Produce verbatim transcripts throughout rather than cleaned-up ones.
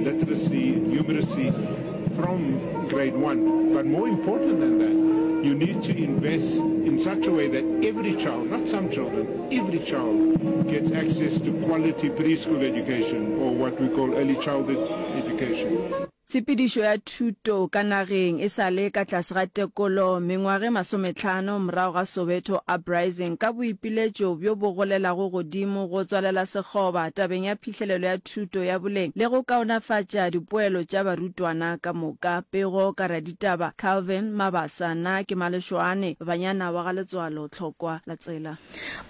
literacy, numeracy from grade one. But more important than that, you need to invest in such a way that every child, not some children, every child gets access to quality preschool education or what we call early childhood education. Tshepedišo ya thuto ka nageng e sa le ka tlase ga tekolo mengwaga e masometlhano morago ga Soweto Uprising ka boipiletšo bjo bo golelago godimo go tswalela sekgoba tabeng ya phihlelelo ya thuto ya boleng le go kaonafatša dipoelo tša barutwana ka moka. Pego ka raditaba Calvin Mabasa Na ke Malešoane Banyana wa ga Letswalo Tlhokwa la Tsela.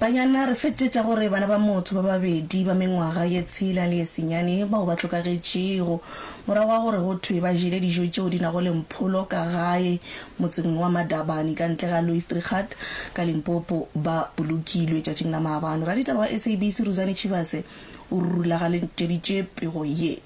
Banyana, re fetetša gore bana ba motho ba babedi ba mengwaga ye tshela le ye senyane bao ba hlokagetšego morago ga gore go thwe ba jele dijo tšeo di nago le mpholo ka gae motseng wa Madabane ka ntle ga Louis Trichardt ka Limpopo ba bolokilwe tšatšing la maabane. Raditaba wa S A B C Ruzani Tshivhase o rulagantšeditše pego ye.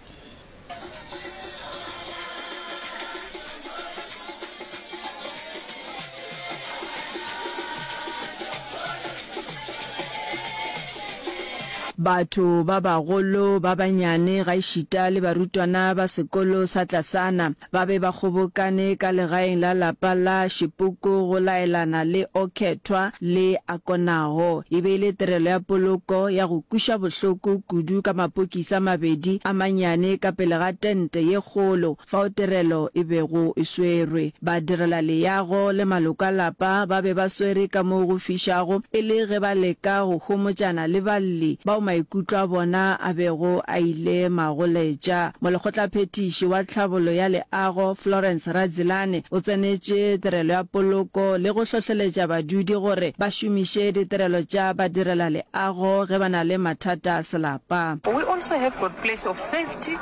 Batho ba bagolo, ba banyane gaešita le barutwana ba sekolo sa tlasana ba be ba kgobokane ka legaeng la lapa la Šipuku go laelana le O Khethwa le Akonaho. E be e le tirelo ya poloko ya go kweša bohloko kudu ka mapokisi a mabedi a manyane ka pele ga tente ye kgolo fao tirelo e bego e swerwe. Badirelaleago le maloko a lapa ba be ba swere ka mo go fišago e le ge ba leka go homotšana le balli bao maikutlo a bona a bego a ile magoletša. Molekgotlaphethiši wa Tlhabollo ya Leago, Florence Radzilane, o tsenetše tirelo ya poloko le go hlohleletša badudi gore ba šomiše ditirelo tša badirelaleago ge ba na le mathata a selapa. We also have got place of safety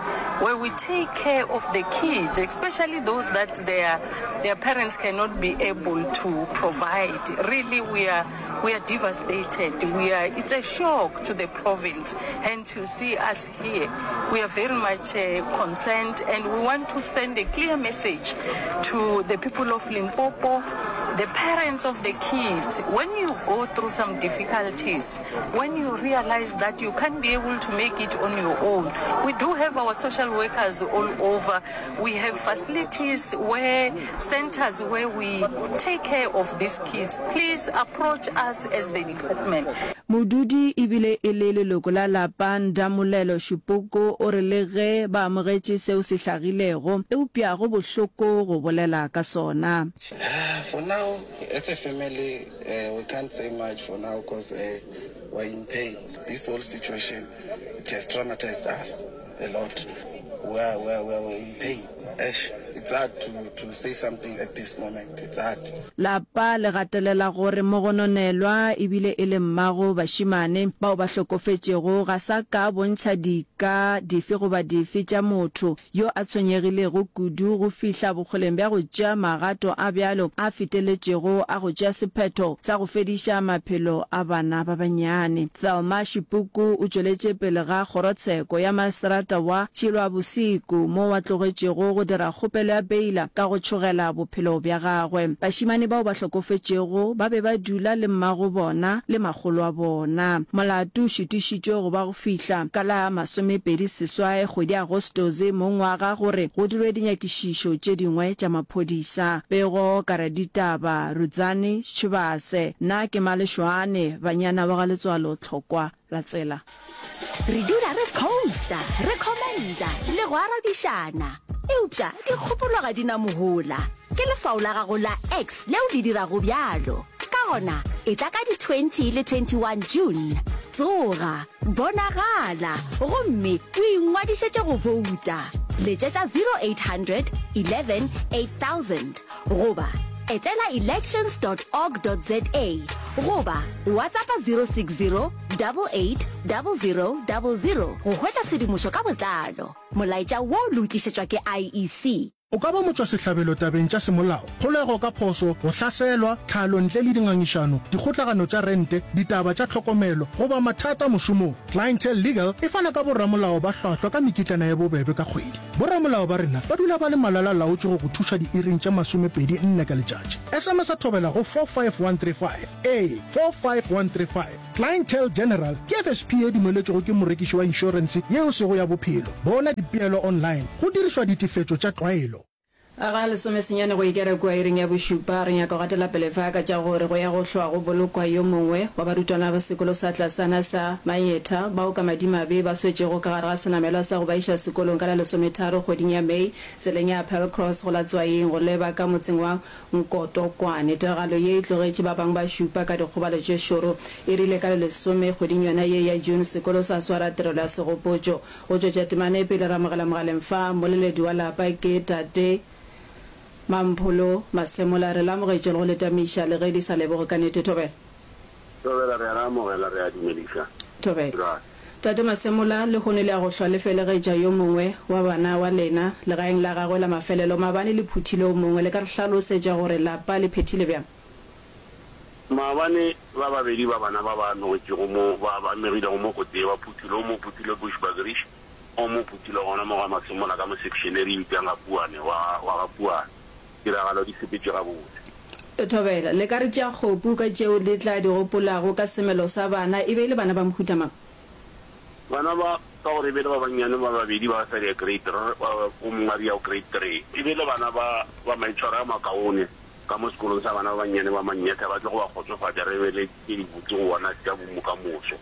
where we take care of the kids, especially those that their, their parents cannot be able to provide. Really, we are, we are devastated. We are, it's a shock to the province. Hence, you see us here. We are very much uh, concerned and we want to send a clear message to the people of Limpopo, the parents of the kids. When you go through some difficulties, when you realize that you can't be able to make it on your own, we do have our social workers all over. We have facilities where, centers where we take care of these kids. Please approach us as the department. Modudi e bile e le leloko la lapa Ndamulelo Shipoko o re le ge ba amogetše seo se hlagilego, eupša go bohloko go bolela ka sona. For now, as a family, uh, we can't say much for now because uh, we're in pain. This whole situation just traumatized us a lot. We are, we are, we are in pain. Eish, it's hard to, to say something at this moment. It's hard. Lapa le gatelela gore mogononelwa e bile e le mmago bašemane bao ba hlokofetšego ga sa ka bontšha dika dife goba dife tša motho yo a tshwenyegilego kudu go fihla bokgoleng bja go tšea magato a bjalo a feteletšego a go tšea sephetho sa go fediša maphelo a bana ba bannyane. Thelma Shipuku o tšweletše pele ga kgorotsheko ya maseterata wa Tšhilwabosiku moo a tlogetšego go dira kgopelo ya beila ka go tšhogela bophelo bja gagwe. Bašemane bao ba hlokofetšego ba be ba dula le mmago bona le makgolo a bona. Molato o šitišitšwe go ba go fihla ka la masomepedi seswai kgwedi ya Agostose mo ngwaga gore go dirwe dinyakišišo tše dingwe tša maphodisa. Pego ka raditaba Rudzani Tshivhase. Nna ke Malešoane, banyana ba ga Letswalo Tlhokwa la Tsela. Re dula re posta, re commenta le go arabišana. Eupša dikgopolo ga di na mohola. Ke leswao la gago la X leo le dirago bjalo. Ka gona, etla ka di twenty le twenty one June. Tsoga, bonagala, gomme o ingwadišetše go bouta. Letšetša zero eight hundred eleven eight thousand goba etela elections dot org dot za goba WhatsAppa zero six zero double eight double zero double zero go hwetša tshedimošo ka botlalo. Molaetša wo le o tlišetšwa ke I E C. O ka ba motšwasehlabelo tabeng tša semolao, kgolego ka phošo, go hlaselwa, tlhalo ntle le dingangišano, dikgotlagano tša rente, ditaba tša tlhokomelo, goba mathata mošomong. Clientele Legal e fana ka boramolao ba hlwahlwa ka mekitlana ye bobebe ka kgwedi. Boramolao ba rena ba dula ba le malala-laotšwe go go thuša diiring tše masomepedi nne ka letšatši. S M S Thobela go four five one three five. Ee, four five one three five. Clientele General ke F S P ye dumeletšwego ke morekiši wa inšorense yeo sego ya bophelo. Bona dipeelo online go dirišwa ditefetšo tša tlwaelo. Ga lesomesenyane go ikela kua iring ya bošupa, re nyaka go gatela pele fa ka tša gore go ya go hlwa go bolokwa yo mongwe wa barutwana ba sekolo sa tlasana sa Mayetha bao ka madimabe ba swetšego ka gare ga senamelwa sa go ba iša sekolong ka la lesometharo kgweding ya May tseleng ya Appelcross go la Tswaing go leba ka motseng wa Nkotokwane. Tiragalo ye e tlogetše ba bangwe ba šupa ka dikgobalo tše šoro. E rile ka le lesome kgweding yona ye ya June sekolo sa swara tirelo ya segopotšo. Go tšwetša temana e pele re amogela mogaleng fa mmoleledi wa lapa ke Tate Mampholo Masemola. Re le amogetše le go le tamiša le ge di sa leboge ka nete. Thobela. Thobela, re a le amogela, re a dumediša. Thobela. Ra. Tate Masemola, lehono le ya go hlwa le felegetša yo mongwe wa bana wa lena legaeng la gagwe la mafelelo. Maabane le phuthile o mongwe. Le ka re hlalosetša gore lapa le phethile bjang? Maabane ba babedi ba bana ba ba amegetšego mo, ba ba amegilego mo kotsi ye ba phuthile, o mo phuthile Bushbuckridge, o mo phuthile gona mo ga Masemola ka mo section e re e bitšang ga Puane, wa, wa ga Puane. Tiragalo di sepetše gabotse. Thobela, Le ka re tšea kgopu ka tšeo le tla di gopolago ka semelo sa bana. E be e le bana ba mohuta mang? Bana ba, ka gore e be e le ba bannyane ba babedi ba sa ya grade three, o mongwe a re ya go grade three. E be e le bana ba, ba maitshwaro a makaone ka mo sekolong sa bana ba bannyane ba Mannyetha, ba tlo go ba kgotsofatša, re be le tše dibotse go bona tša bomokamoso.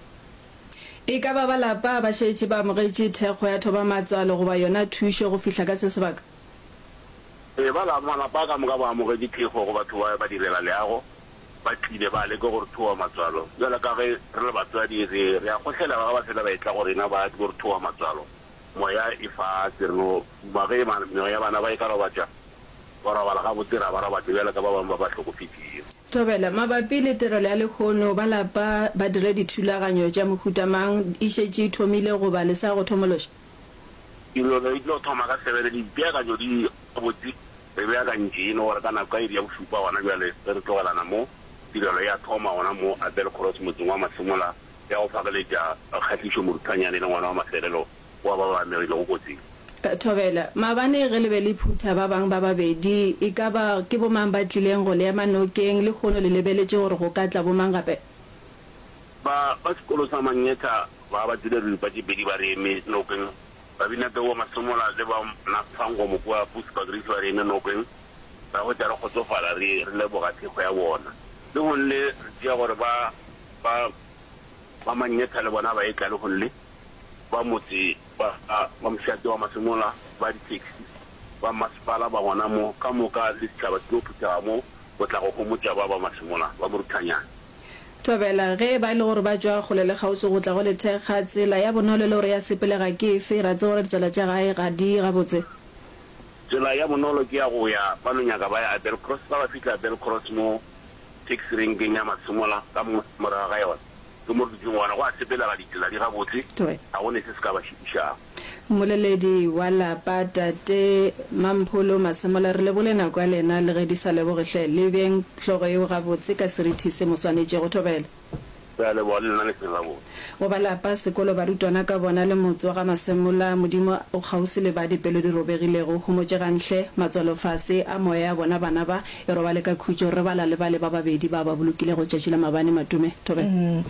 E ka ba ba lapa ba šetše ba amogetše thekgo ya thobamatswalo goba yona thušo go fihla ka se sebaka? Ee, ba la, malapa a ka moka ba amogetše thekgo go batho ba ba direla leago, ba tlile ba leka go re thoba matswalo. Bjalo ka ge re le batswadi, re, re a kgohlela ba ge ba fela ba etla go rena ba tlo re thoba matswalo. Moya e fase, re no duma ge ma, meoya ya bana ba e ka robatša, ba robala gabotse, ra ba robatša bjalo ka ba bangwe ba ba hlokofetšego. Thobela, mabapi le tirelo ya lehono, ba lapa ba dire dithulaganyo tša mohuta mang? E šetše e thomile goba le sa go thomološa? Tirelo e tlo thoma ka sebele, dipeakanyo di gabotse, re beakantše e le gore ka nako ka iri ya bošupa gona bjale ge re tlogelana mo, tirelo ya thoma gona mo Appelcross motseng wa Masemola ya go fageletša Kgahlišo Moruthanyane e le ngwana wa mafelelo wa ba ba amegilego kotsing. Thobela, maabane ge le be le phutha ba bangwe ba babedi, e ka ba ke bomang ba tlileng go le ema nokeng? Lehono le lebeletše gore go ka tla bomang gape? Ba ba sekolo sa Mangetha ba ba tsile diripa tše pedi ba re eme nokeng. Babinatau ba Masemola le ba Nafangomo kua Bushbuckridge ba re eme nokeng. Ra hwetša re kgotsofala re re leboga thekgo ya bona. Lehono le re tšea gore ba ba ba Mangetha le bona ba etla lehono le. Ba motse ba ba mošate wa Masemola, ba di-taxi, ba mmasepala ba gona mo, ka moka le setšhaba se tlo phuthega mo go tla go homotša ba ba Masemola, ba Moruthanyane. Thobela, Ge e ba e le gore ba tšwa kgole le kgauswi go tla go le thekga, tsela ya bonolo le gore ya sepelega ke efe? Ra tseba gore ditsela tša gae ga di gabotse. Tsela ya bonolo ke ya go ya ba no nyaka ba ya Appelcross. Ga ba fihla Appelcross mo taxi renkeng ya Masemola ka mo morago ga yona ke mo re dutšeng gona, go a sepelega, ditsela di gabotse, Thobela. ga go ne se se ka ba šitišago. Mmoleledi wa lapa, Tate Mampholo Masemola, re lebole nako ya lena le ge di sa leboge hle. Le beng hlogo yeo gabotse ka serithi se mo swanetšego. Thobela. Re a leboga le lena le seng gabotse. Go ba lapa, sekolo, barutwana ka bona le motse wa ga Masemola, Modimo o kgauswi le ba dipelo di robegilego. Homotšegang hle, matswalo fase a moya ya bona bana ba e robale ka khutšo. Re bala le bale ba babedi ba ba bolokilego tšatši la mabane Matume. Thobela.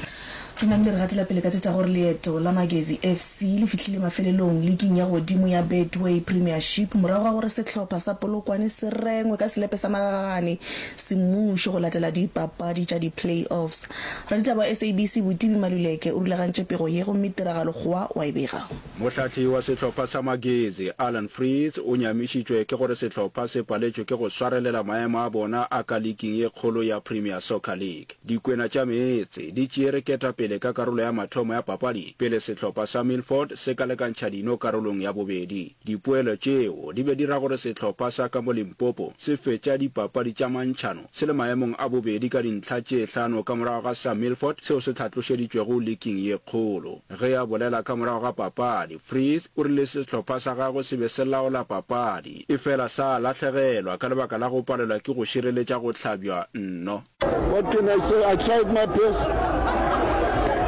Re namile re gatela pele ka tše tša gore leeto la Magezi F C le fihlile mafelelong liking ya godimo ya Betway Premiership morago ga gore sehlopha sa Polokwane se rengwe ka selepe sa magagane semmušo go latela dipapadi tša di-play-offs. Raditaba wa S A B C Botibi Maluleke o rulagantše pego ye gomme Tiragalo Kgowa wa e bega. Mohlahli wa sehlopha sa Magezi, Allan Freese, o nyamišitšwe ke gore sehlopha se paletšwe ke go swarelela maemo a bona a ka liking ye kgolo ya Premier Soccer League. Dikwena tša meetse di tšeere ketapele pele ka karolo ya mathomo ya papadi pele sehlopha sa Milford se ka lekantšha dino karolong ya bobedi. Dipoelo tšeo di be di ra gore sehlopha sa ka mo Limpopo se fetša dipapadi tša mantšhano se le maemong a bobedi ka dintlha tše hlano ka morago ga sa Milford seo se hlatlošeditšwego liking ye kgolo. Ge a bolela ka morago ga papadi, Vries o rile sehlopha sa gagwe se be se laola papadi, efela sa lahlegelwa ka lebaka la go palelwa ke go šireletša go hlabja nno. What can I say? I tried my best.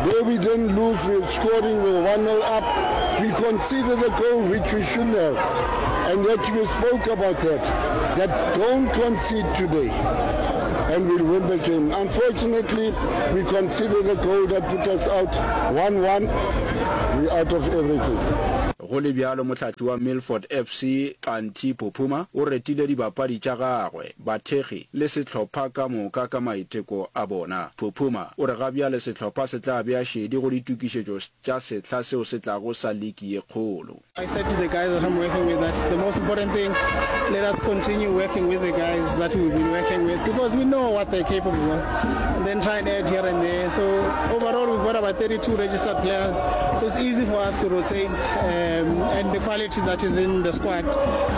Though we didn't lose, we were scoring, we were one nil up. We conceded a goal which we shouldn't have. And yet we spoke about that, that don't concede today and we'll win the game. Unfortunately, we conceded a goal that put us out one one. We're out of everything. Go le bjalo, mohlahli wa Milford F C, Xanthi Phuphuma, o retile dibapadi tša gagwe, bathekgi le sehlopha ka moka ka maiteko a bona. Phuphuma o re ga bjale sehlopha se tla bea šedi go ditokišetšo tša sehla seo se tlago sa liki ye kgolo. I said to the guys that I'm working with that the most important thing, let us continue working with the guys that we've been working with because we know what they're capable of, and then try and add here and there. So overall, we've got about thirty-two registered players, so it's easy for us to rotate, um, and the quality that is in the squad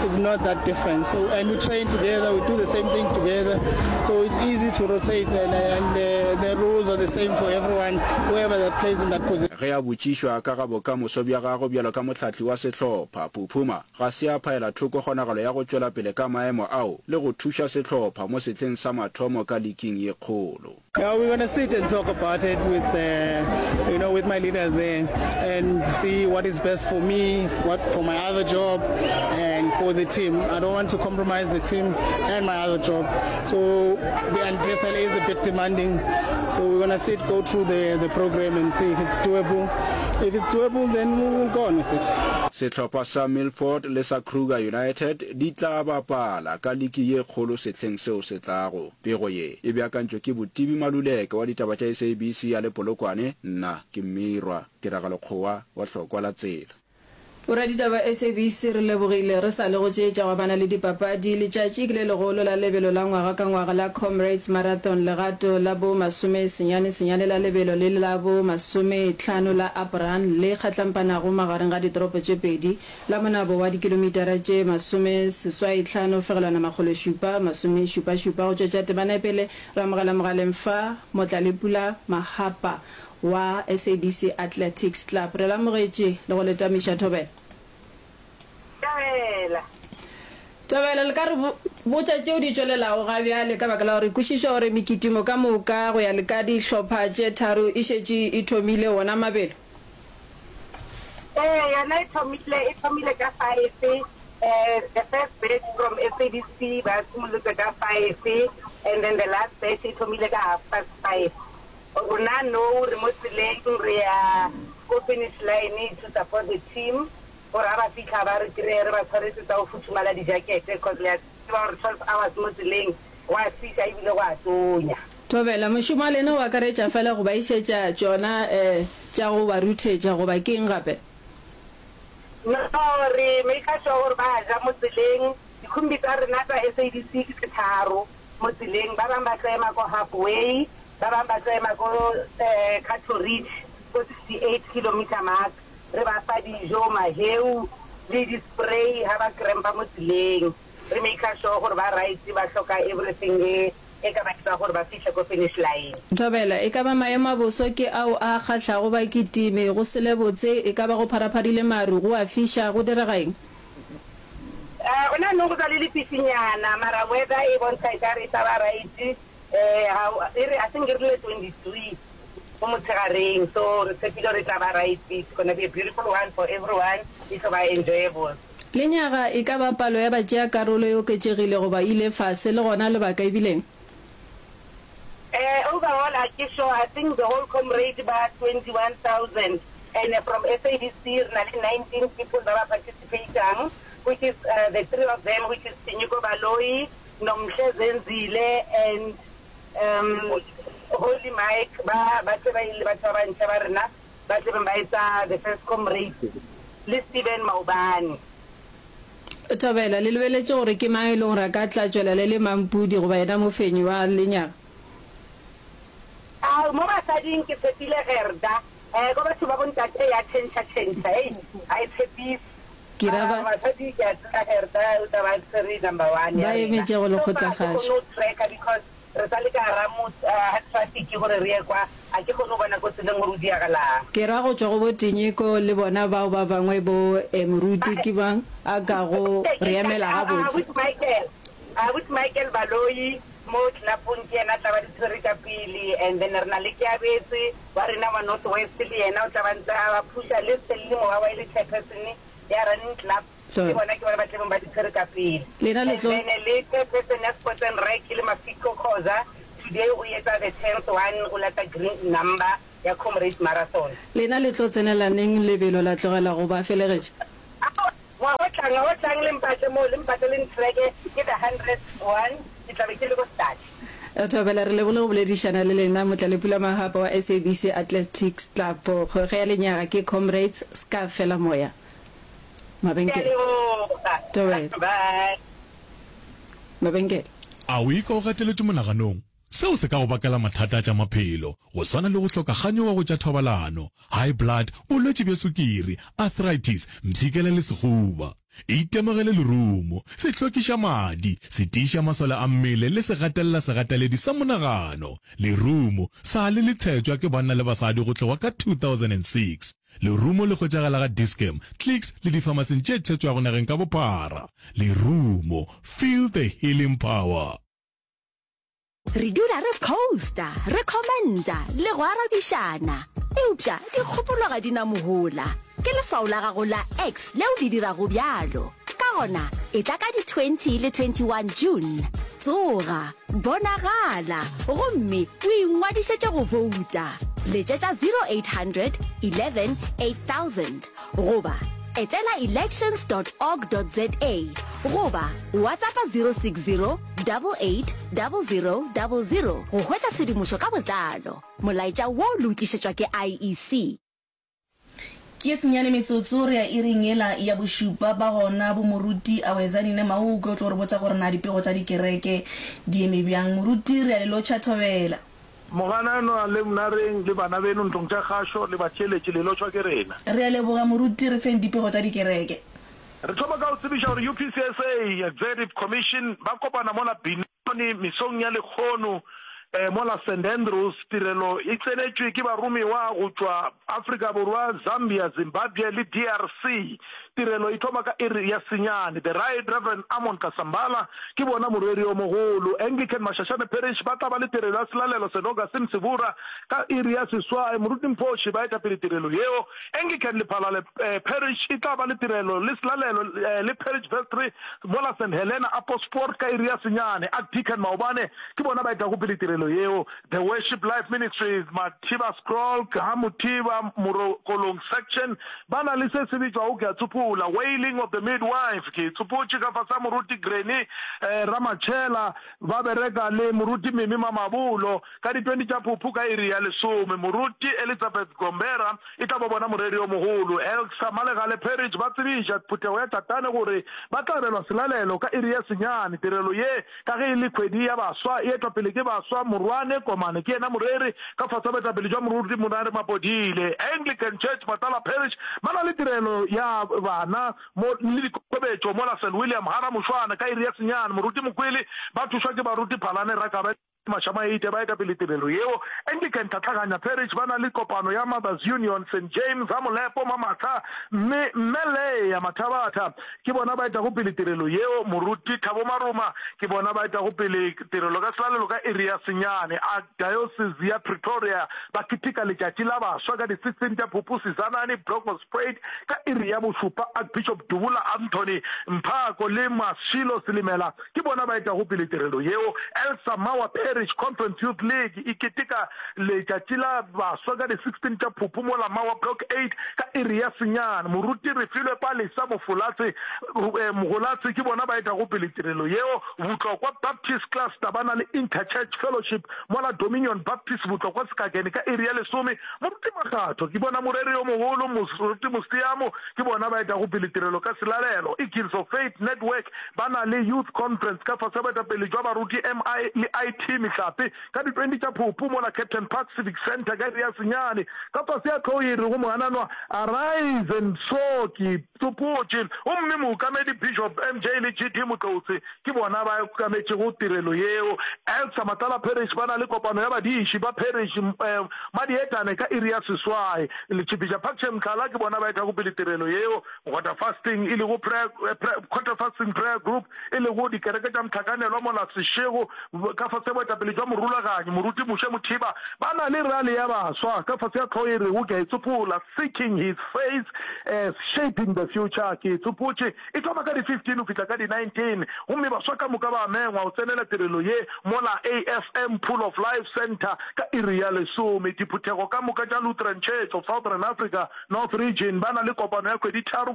is not that different. So, and we train together, we do the same thing together, so it's easy to rotate, and, and the, the rules are the same for everyone, whoever that plays in that position. Ge a botšišwa ka ga bokamoso bja gagwe bjalo ka mohlahli wa sehlopha, Phuphuma ga se a phaela thoko kgonagalo ya go tšwela pele ka maemo ao le go thuša sehlopha mo sehleng sa mathomo ka liking ye kgolo. Yeah, we're gonna sit and talk about it with, uh, you know, with my leaders there and see what is best for me, what for my other job, and for the team. I don't want to compromise the team and my other job. So the N P S L is a bit demanding. So we're gonna sit, go through the, the program and see if it's doable. If it's doable, then we will go on with it. Sehlopha sa Milford le sa Kruger United di tla bapala ka liki ye kgolo sehleng seo se tlago. Pego ye e beakantšwe ke Botibi Maluleke wa ditaba tša S A B C a le Polokwane, nna ke Mmirwa Tiragalo Kgowa wa Hlokwa la Tsela. Boraditaba S A B C re lebogile re sa le go tše tša go amana le dipapadi. Letšatši ke le legolo la lebelo la ngwaga ka ngwaga la Comrades Marathon, legato la bo masome senyane senyane la lebelo le la bo masome hlano la Up Run le kgatlampanago magareng ga ditoropo tše pedi la monabo wa dikilomitara tše masome seswai hlano fegelwana makgolo šupa masome šupa šupa. Go tšwetša temana pele re amogela mogaleng fa Motlalepula Mahapa wa S A B C Athletics Club. Re lamogetše le go le tamiša, thobela. Thobela. Thobela, le ka re botša tšeo di tšwelelago ga bjale ka baka la gore kwešiša gore mekitimo ka moka go ya le ka dihlopha tše tharo e šetše e thomile wona mabelo? Ee, yona e thomile, e thomile ka five. Eh, the first batch from S A B C ba simolotse ka five and then the last batch e thomile ka half past five. Rona no re mo tseleng re ya ko finish line to support the team gore ga ba fitlha ba re kry-e re ba tshwaretse tsa go futhumala dijakete, cause le a tseba gore twelve hours mo tseleng go a fiša ebile go a tonya. Thobela, mošomo wa lena o akaretša fela go ba išetša tšona um tša go ba ruthetša goba ke eng gape? No, re make sure gore ba ja mo tseleng. Dikhumbi tsa rena tsa S A B C ke tse tharo mo tseleng. Ba bangwe ba tlo ema ko halfway, ba bangwe ba tlo ema ko um Cato Ridge ko sixty-eight kilometer mark. Re ba fa dijo, maheu le di-spray ha ba crampa mo tseleng. Re make sure gore ba right, ba hloka everything e e ka ba etsa gore ba fihle ko finish line. Thobela, e ka ba maemo a boso ke ao a kgahlago bakitimi, go se le botse, e ka ba go pharapharile maru, go a fiša, go direga eng? Uh, gona anong go sa le lefifinyana, mara weather e bontsha e kare e tla ba right. um e re, I think e rile twenty-three mo motshegareng, so re tshepile gore e tla ba right. It's gonna be a beautiful one for everyone, e tlo ba enjoyable. Lenyaga e ka ba palo ya batšea karolo e oketšegile goba ile fase, le gona lebaka ebileng? Uh, overall, a ke sure. I think the whole comrade ba twenty-one thousand and uh, from S A B C re na le nineteen people ba ba participatang, which is uh, the three of them, which is Tinyiko Baloyi, Nomhle Zenzile and um, Holy Mike, ba ba tle ba ile batho ba bantšha ba rena ba tle beng ba etsa the first comrade le Steven Maubane. Thobela, le lebeletše gore ke mang e leng gore a ka tla tšwela le le mampudi goba yena mofenyi wa lenyaga? A mo basading basading ke tshepile Gerda. Eh, ko batho ba bontate ya tšhentšha tšhentšha, hei, ga e tshepise. Ke ra ba. Basadi ke a tseba Gerda o tla ba tshwere number one Ba ya rena. emetše go So lekgotla far ga ke kgašo. kgone go tracker because re sa le ka gara motse, ga traffic gore re ye kwa, ga ke kgone go bona ko tseleng gore o diagalang. Ke ra go tšwa go bo Tinyiko le bona bao ba bangwe bo eh, moruti ke mang a kago re emela gabotse. Abuti Michael, Abuti Michael Baloyi mo tlelapong ke yena a tla ba di tshwere ka pele and then re na le Keabetswe wa rena wa North West le yena o tla ba ntse a ba phusha le Stelly Mowawa e le chairperson ya running club ke bona ke bona ba tlebeng ba di tshwere ka pele Lena le and tlo. then le chairperson ya Sports and Rec le Mafiko Khoza today o etsa the tenth one o lata green number ya Comrades Marathon. Lena le tlo tsenela neng lebelo la tlogela go ba felegetša? Aowa, ngwaga o tlang, ngwaga o tlang le mpatle moo, le mpatle le ntreke, ke the hundredth one, ke tla be ke le ko start. Thobela, re lebogile go boledišana le lena, Motlalepula Mahapa wa S A B C Athletics Club. Kgwekgwe ya lenyaga ke Comrades, ska fela moya. Ke a Mabenkele. leboga. Thobela. Bye. Mabenkele. A o ikwa o gateletšwe monaganong? Seo se ka go bakela mathata a tša maphelo, go swana le go hloka kganyogo go tša thobalano, high blood, bolwetši bja sukiri, arthritis, mpshikela le sehuba. Itemogele lerumo, se hlwekiša madi, se tiiša masole a mmele le se gatelela segateledi sa monagano. Lerumo sa le le tshetšwa ke banna le basadi go tloga ka two thousand and six Lerumo le hwetšagala ga Dis-Chem, Clicks le difamasing tše tshetšwago nageng ka bophara. Lerumo, feel the healing power. Re dula re posta, re commenta le go arabišana. Eupša dikgopolo ga di na mohola. Ke leswao la gago la X leo le dirago bjalo. Ka gona, etla ka di twenty le twenty one June. Tsoga, bonagala gomme o ingwadišetše go bouta. Letšetša zero eight hundred eleven eight thousand goba etela elections dot org dot za goba WhatsAppa zero six zero double eight double zero double zero go hwetša tshedimošo ka botlalo. Molaetša wo le o tlišetšwa ke I E C. Ke ye senyane metsotso re ya iring yela ya bošupa. Ba gona bo Moruti Awezani Nemaukwe o tlo re botša gore na dipego tša dikereke di eme bjang. Moruti re a le lotšha thobela. Mogananwa le Mnareng le bana beno ntlong tša kgašo le batheeletši le lotšhwa ke rena. Re a leboga Moruti re feng dipego tša dikereke. Re thoma ka go tsebiša gore U P C S A Executive Commission ba kopana mola Benoni mesong ya lekgono mola Saint Andrews. Tirelo e tsenetšwe ke baromiwa go tšwa Afrika Borwa, Zambia, Zimbabwe le D R C. Tirelo e thoma ka iri ya senyane. The Right Reverend Amon Kasambala ke bona moreri yo mogolo. Anglican Mashashane Parish ba tla ba le tirelo ya selalelo Saint Augustine Sebura ka iri ya seswai. Moruti Mphoši ba etapele tirelo yeo. Anglican Lephalale Parish e tla ba le tirelo le selalelo le Parish Vestry mola Saint Helena Apossport ka iri ya senyane. Archdeacon Maobane ke bona ba etago pele tirelo yeo. The Worship Life Ministries, Mathiba Scroll, Ga Mothiba, Morokolong Section, ba na le se se bitšwago ke a tsopola, Wailing of the Midwife. Ke e tsopotše ka fase ga Moruti Granny Ramatšhela, ba bereka le Moruti Mimi Mamabolo ka di twenty tša Phuphu ka iri ya lesome. Moruti Elizabeth Gombera e tla ba bona moreri yo mogolo. Elksa Malegale Parish ba tsebiša phuthego ya Tatane gore ba tla abelwa selalelo ka iri ya senyane. Tirelo ye ka ge e le kgwedi ya baswa, e etwa pele ke baswa. Morwane Komane ke yena moreri ka fase ga boetapele jwa Moruti Monare Mapodile. Anglican Church Matala Parish ba na le tirelo ya bana mo le dikokobetšo mola Saint William Hara Mošwana ka iri ya senyane. Moruti Mokwele ba thušwa ke baruti Phalane Rakabe le Mašamaite ba eta pele tirelo yeo. Anglican Tlhatlhaganya Parish ba na le kopano ya Mothers Union Saint James ha Molepo Mamatha mme Mme Leah Mathabatha ke bona ba etago pele tirelo yeo. Moruti Thabo Maruma ke bona ba etago pele tirelo ka selalelo ka iri ya senyane. Archdiocese ya Pretoria ba keteka letšatši la baswa ka di sixteen tša Phupu Sizanani Bronkhorstspruit ka iri ya bošupa. Archbishop Dubula Anthony Mphako le Mashilo Silimela ke bona ba etago pele tirelo yeo. Elsa Mawa Parish Conference Youth League e keteka letšatši la baswa ka di sixteen tša Phupu mola Mawa Block eight ka iri ya senyane. Moruti Refilwe Palesa Mofolatse Mogolatse ke bona ba etago pele tirelo yeo. Botlokwa Baptist Cluster ba na le Inter-Church Fellowship mola Dominion Baptist Botlokwa Sekakene ka iri ya lesome. Moruti Makgatho ke bona moreri yo mogolo. Moruti Moseamo ke bona ba etago pele tirelo ka selalelo. Eagles of Faith Network ba na le Youth Conference ka fase ga boetapele jwa baruti M I le I T Mehlape ka di twenty tša Phupu mola Captain Park Civic Centre ka iri ya senyane. Ka fase ya hlogo ye e rego Mogananwa Arise and Soar ke tsopotše gomme mookamedi Bishop M J le G D Motloutse ke bona ba okametšego tirelo yeo. Elsa Matlala Parish ba na le kopano ya badiši ba parish Madietane ka iri ya seswai. Letšhipiša Parkshire Mhlala ke bona ba etago pele tirelo yeo. Quarter Fasting e lego prayer, Quarter Fasting Prayer Group e lego dikereke tša mohlakanelwa mola Seshego ka fase ya boetapele jwa morulaganyi Moruti Moshe Mothiba ba na le rally ya baswa ka fase ya hlogo e rego Ke a Itsopola, Seeking His Face, Shaping the Future, Ke Itsopotše. E thoma ka di fifteen go fihla ka di nineteen gomme baswa ka moka ba mengwa go tsenela tirelo ye mola A F M Pool of Life Centre ka iri ya lesome. Diphuthego ka moka tša Lutheran Church of Southern Africa North Region ba na le kopano ya kgwedi tharo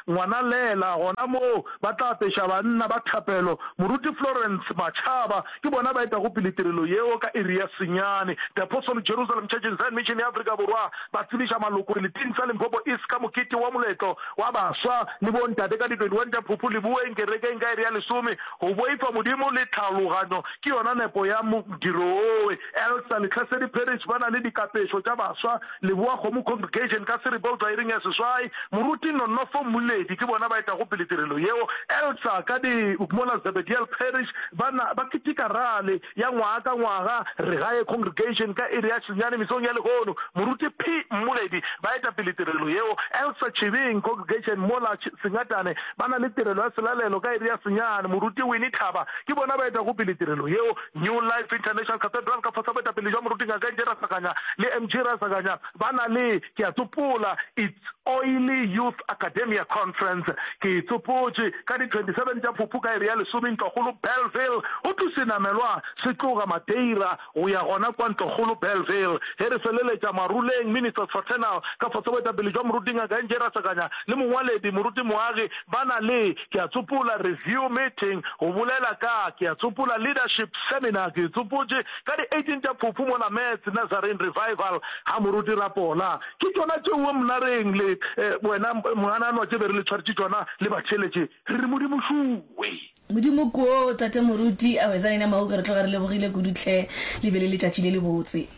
Ngwanalela gona moo ba tla apeša banna ba thapelo. Moruti Florence Machaba ke bona ba etago pele tirelo yeo ka iri ya senyane. The Apostolic Jerusalem Church in Zion Mission ya Afrika Borwa ba tsebiša maloko seleteng sa Limpopo East ka mokete wa moletlo wa baswa le bontate ka di twenty one tša Phuphu Leboeng kerekeng ka iri ya lesome. Go boifa Modimo le tlhaologanyo ke yona nepo ya modiro wowe. Elsa Lehlasedi Parish ba na le dikapešo tša baswa Leboa Kgomo Congregation ka seripa go tšwa iring ya seswai. Moruti Nonofo Mmuledi ke bona ba etago pele tirelo yeo. Elsa ka di mola Zebediel Parish ba na ba keteka rally ya ngwaga ka ngwaga Regae Congregation ka iri ya senyane mesong ya lehono. Moruti P Mmuledi ba eta pele tirelo yeo. Elsa Chibing Congregation mola Sengatane ba na le tirelo ya selalelo ka iri ya senyane. Moruti Winnie Thaba ke bona ba etago pele tirelo yeo. New Life International Cathedral ka fase ga boetapele jwa Moruti Ngaka N J Rasakanya le M G Rasakanya ba na le, ke a tsopola, It's Oily Youth Academia Conference. Ke e tsopotše ka di twenty seven tša Phuphu ka iri ya lesome Ntlokgolo Bellville. Go thwe senamelwa se tloga Madeira go ya gona kwa Ntlokgolo Bellville. Ge re feleletša Maruleng Ministers Fraternal ka fase ga boetapele jwa Moruti Ngaka N J Rasakanya le mongwaledi Moruti Moagi ba na le, ke a tsopola, review meeting go bolela ka, ke a tsopola, leadership seminar, ke e tsopotše ka di eighteen tša Phuphu mola Metz Nazarene Revival ga Moruti Rapola. Ke tšona tšeoe Mnareng le wena Mogananwa tše be re le tshwaretše tšona le batheeletše, re re Modimo šuwe. Modimo koo, Tate Moruti, a wetsa nina Mauke, re tloga re lebogile kudu hle, le be le letšatši le lebotse.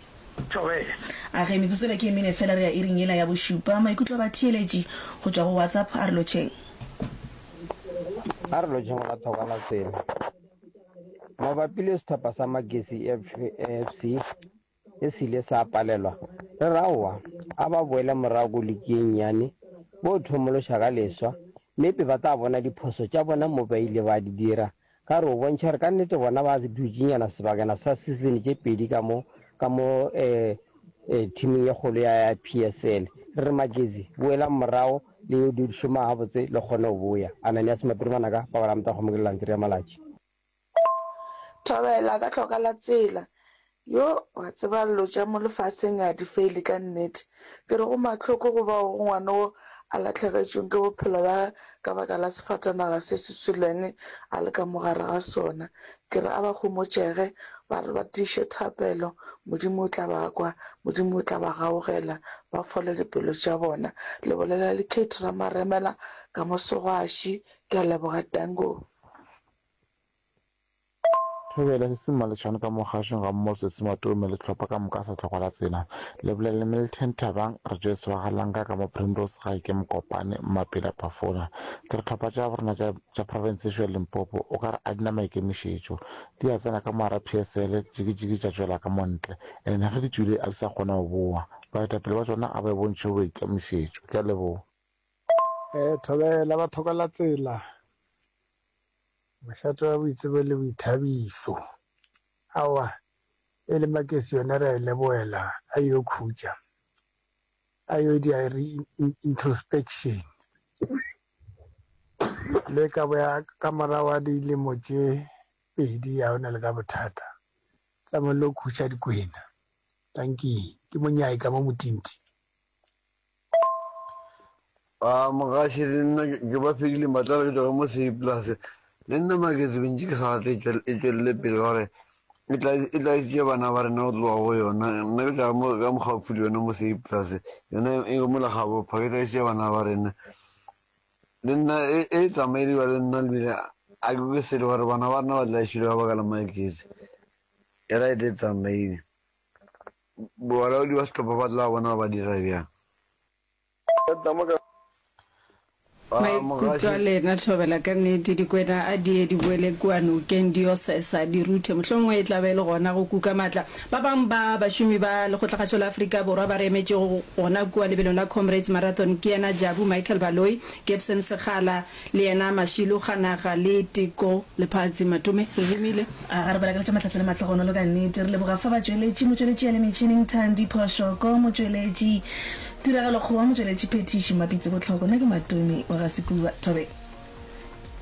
Thobela. A ge, metsotso ela ke e mene fela re ya iring yela ya bošupa. Maikutlo a batheeletši go tšwa go WhatsApp, a re lotšheng. A re lotšheng go la thoko la tsela. Mabapi le sehlopha sa Magesi F C se se ile sa palelwa, re re aowa, a ba boele morago ko liki ye nnyane, bo thomološa ka leswa, mme ba tla bona diphoso tša bona mo ba ile ba di dira. Ka re o bontšha gore ka nnete bona ba dutše-nyana sebakana sa season tše pedi ka mo, ka mo eh, eh, teaming ye kgolo ya, ya P S L. Re re Magezi, boelang morago le yo di šoma gabotse le kgone go boya. Ananias Mapiri Manaka, Pabala Motagomong ke Lelantiri ya Malatši. Thobela ka hloka la tsela. Yo, wa tseba llo tša mo lefaseng a di fele ka nnete. Ke re go mahloko go bao go ngwana wo a lahlegetšweng ke bophelo bja gage ka baka la sefatanaga se se sweleng a le ka mo gare ga sona. Ke re a ba homotšege, ba re ba tiiše thapelo, Modimo o tla ba kwa, Modimo o tla ba gaugela, ba fole dipelo tša bona. Le bolela le Kate Ramaremela ka mo Segwaši. Ke a leboga, Danko. Thobela, se se Mmaletšhwane ka mo kgašong ga mmogo le Sesi Matome le hlopha ka moka sa Tlhokwa la Tsela. Le bolela le Milton Thabang, Rejoice wa ga Langa ka mo Primrose gae ke Mokopane, Mmapela Phafola. Ke re hlopha tša borena tša tša profense yešo ya Limpopo o ka re a di na maikemišetšo. Di a tsena ka mo gara P S L, jikijiki tša tšwela ka mo ntle. Ene ge di tšwile a di sa kgona go bowa. Baetapele ba tšona a ba bontšhe boikemišetšo. Ke a leboga. Eh, Thobela ba Tlhokwa la Tsela. Mošate wa boitsebo le boithabišo. Aowa, e le Makesi yona re a e leboela, a yo khutša, a yo dia re-introspection. Le ka boya ka morago ga dilemo tše pedi ga o na le ka bothata. Tsamong le khutša dikwena. Dankie, ke monyai ka mo Motinti. A mogaši le nna ke ba fedile matlalo ke tšwa mo Seipolase. Le nna Magezi bentši ke sa rate e tšwelele pele ka gore e tla e tlaisitše bana ba rena go tloga go yona. Nna ke tšwa mo ka mogaufi le yona mo Seipolase. Yona e mo Lekgabopha ke tlaisitše bana ba rena. Le nna e e tsamaile le nna lebile a ke kwe selo gore bana ba rena ba tlaišilwe ka baka la Magezi. E right e tsamaile. Balaodi ba sehlopha ba tla bona ba dira bjang. Maikutlo a lena thobela ka nnete dikwena a di ye di boele kua nokeng di yo sesa di ruthe mohlomongwe e tla ba e le gona go kuka matla ba bang ba bašomi ba Lekgotlakgašo la Afrika Borwa ba re emetšego gona kua lebelong la Comrades Marathon ke yena Jabu Michael Baloyi, Gibson Sekgala le yena Mashilo Kganaga le Teko Lephatsi Matome. Re romile. A ga re balakaletša mahlatse le mahlogonolo ka nnete. Re leboga fa batšweletši, motšweletši ya le metšhineng Thandi Phoshoko, motšweletši Tiragalo Kgowa, motšweletši Phethiši Mapitsi Bohloko. Nna ke Matome wa ga Sekuba. Thobela.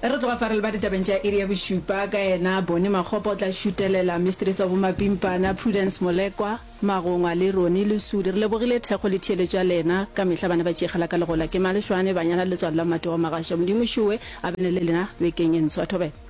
Re tloga fa re leba ditabeng tša iri ya bošupa ka yena Bonnie Makgopa o tla šutelela Mistress wa Bomapimpana Prudence Molekwa, Magongwa le Ronnie Lesudi. Re lebogile thekgo le theeletšo ya lena ka mehla bana ba tšeegela ka legola. Ke Maleshwane, banyana le letswalo la Mmate wa Magasha. Modimo Šowe a bene le lena bekeng e ntshwa. Thobela.